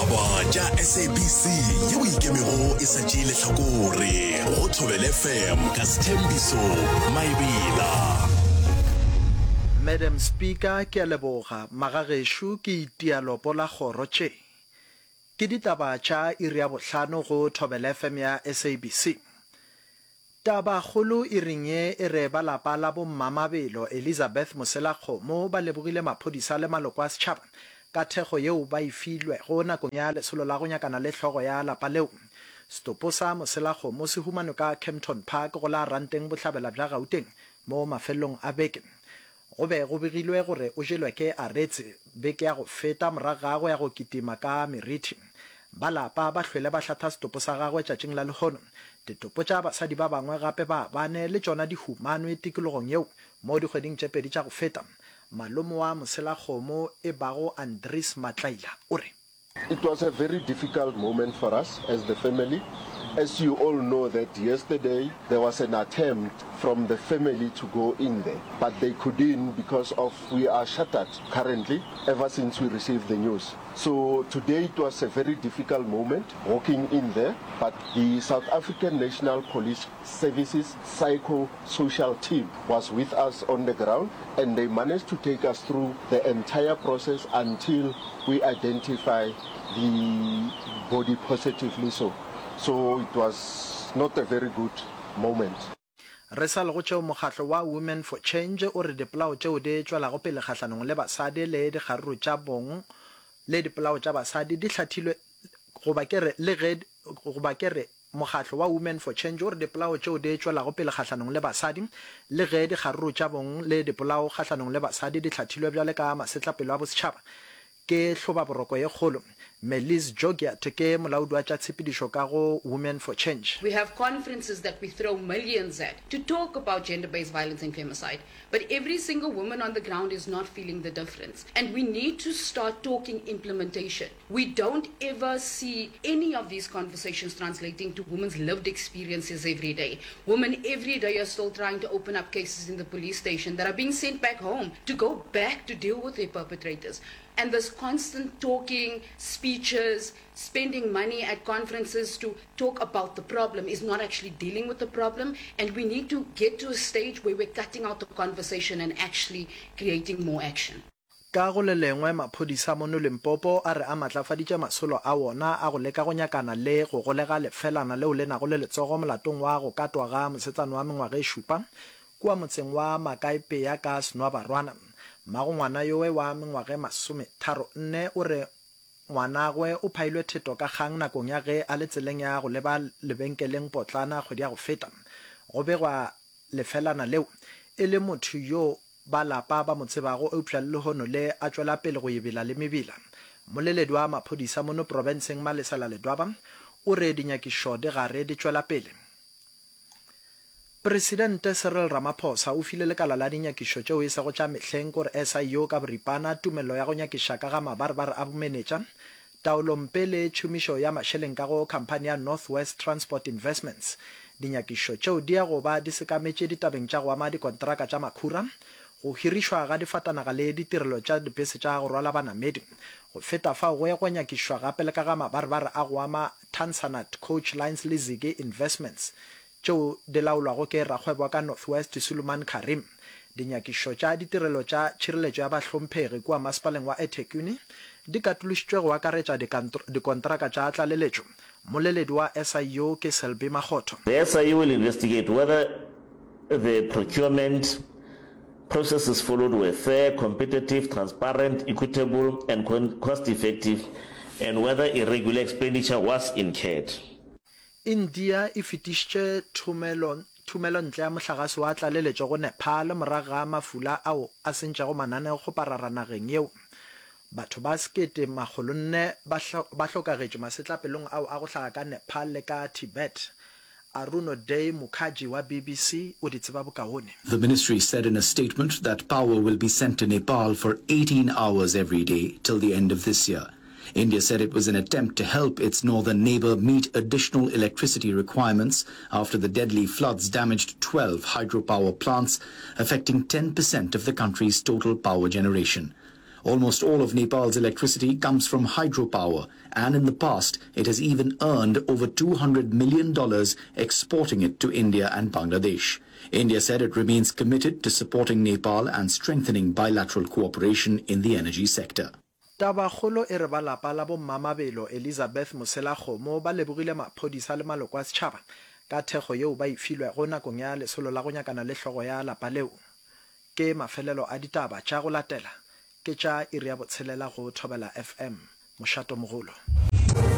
Ditaba tša SABC yeo e ikemego e sa tšee lehlakore go Thobela FM ka Sthembiso Maebela. Madam Speaker, ke a leboga. Magagešo ke itia lopo la kgoro tše. Ke ditaba tša iri ya bohlano go Thobela FM ya SABC. Tabakgolo iring ye e re ba lapa la bo Mmamabelo Elizabeth Moselakgomo ba lebogile maphodisa le maloko a setšhaba ka thekgo yeo ba e filwego nakong ya lesolo la go nyakana le hlogo ya lapa leo. Setopo sa Moselakgomo se humanwe ka Kempton Park go la Ranteng bohlabela bja Gauteng mo mafelelong a beke. Go be go begilwe gore o jelwe ke aretse beke ya go feta morago ga go ya go kitima ka merithi. Ba lapa ba hlwele ba hlatha setopo sa gagwe tšatšing la lehono. Ditopo tša basadi ba bangwe gape ba bane le tšona di humanwe tikologong yeo mo dikgweding tše pedi tša go feta. Malome wa moselakgomo e bago Andries Matlaila o re. It was a very difficult moment for us as the family. As you all know that yesterday there was an attempt from the family to go in there, but they couldn't because of we are shuttered currently ever since we received the news. So today it was a very difficult moment walking in there, but the South African National Police Services psycho-social team was with us on the ground and they managed to take us through the entire process until we identify the body positively so. So it was not a very good moment. Re sa le go tšeo mokgatlo wa Women for Change o re dipolao tšeo di tšwelago pele kgahlanong le basadi le dikgaruru tša bong le dipolao tša basadi di hlathilwe goba ke re le ge goba ke re Mokgatlo wa Women for Change o re dipolao tšeo di tšwelago pele kgahlanong le basadi le ge dikgaruru tša bong le dipolao kgahlanong le basadi di hlathilwe bjale ka masetlapelo a bosetšhaba ke hlobaboroko ye kgolo. Merlize Jogiat ke molaodi wa tša tshepedišo ka go Women for Change. We have conferences that we throw millions at to talk about gender-based violence and femicide, but every single woman on the ground is not feeling the difference. And we need to start talking implementation. We don't ever see any of these conversations translating to women's lived experiences every day. Women every day are still trying to open up cases in the police station that are being sent back home to go back to deal with their perpetrators. And this constant talking, speeches, spending money at conferences to talk about the problem is not actually dealing with the problem. And we need to get to a stage where we're cutting out the conversation and actually creating more action. Ka go le lengwe, maphodisa mono Limpopo a re a matlafaditše masolo a wona a go leka go nyakana le go golega lefelana leo le nago le letsogo molatong wa go katwa ga mosetsana wa mengwaga e šupa kua motseng wa Makaepea ka Senwabarwana. Mmago ngwana yowe wa mengwaga e masometharonne o re ngwanagwe o phailwe theto ka kgang nakong ya ge a le tseleng ya go leba lebenkeleng potlana kgwedi ya go feta. Go begwa lefelana leo e le motho yo Ba lapa ba mo tsebago eupša le lehono le a tšwela pele go ebela le mebila. Mmoleledi wa maphodisa mono profenseng Malesela Ledwaba o re dinyakišo di gare di tšwela pele. Presidente Cyril Ramaphosa o file lekala la dinyakišo tšeo e sego tša mehleng kore SIU ka boripana tumello ya go nyakiša ka ga mabarebare a bomenetša, Taolompe le tšhomišo ya mašeleng ka go khamphani ya North West Transport Investments. Dinyakišišo tšeo di ya go ba di sekametše ditabeng tša go ama dikonteraka tša makhura, go hirišwa ga difatanaga le ditirelo tša dipese tša go rwala banamedi. Go feta fao go ya go nyakišišwa gape le ka ga mabarebare a go ama Tansanat Coach Lines le Ziggy Investments tšeo di laolwago ke rakgwebo wa ka North West Suleiman Carrim. Dinyakišišo tša ditirelo tša tšhireletšo ya bahlomphegi kua masepaleng wa eThekwini di katološitšwe go akaretša dikontraka tša tlaleletšo. Mmoleledi wa SIU ke Selby Makgotho. The SIU will investigate whether the procurement processes followed were fair, competitive, transparent, equitable and cost-effective and whether irregular expenditure was incurred. India e fetišitše thomelo thomelontle ya mohlagase wa tlaleletšo go Nepal morago ga mafula ao a sentšego mananeokgoparara nageng yeo. Batho ba 1400 ba ba hlokagetše masetlapelong ao a go hlaga ka Nepal le ka Tibet. Arunoday Mukherjee wa BBC o di tseba bokaone. The ministry said in a statement that power will be sent to Nepal for 18 hours every day till the end of this year. India said it was an attempt to help its northern neighbor meet additional electricity requirements after the deadly floods damaged 12 hydropower plants, affecting 10% of the country's total power generation. Almost all of Nepal's electricity comes from hydropower, and in the past, it has even earned over $200 million exporting it to India and Bangladesh. India said it remains committed to supporting Nepal and strengthening bilateral cooperation in the energy sector. Tabakgolo e re ba lapa la bo Mmamabelo Elizabeth Moselakgomo ba lebogile maphodisa le maloko a setšhaba ka thekgo yeo ba e filwego nakong ya lesolo la go nyakana le hlogo ya lapa leo. Ke mafelelo a ditaba tša go latela ke tša iri ya botshelela go Thobela FM, mošatomogolo.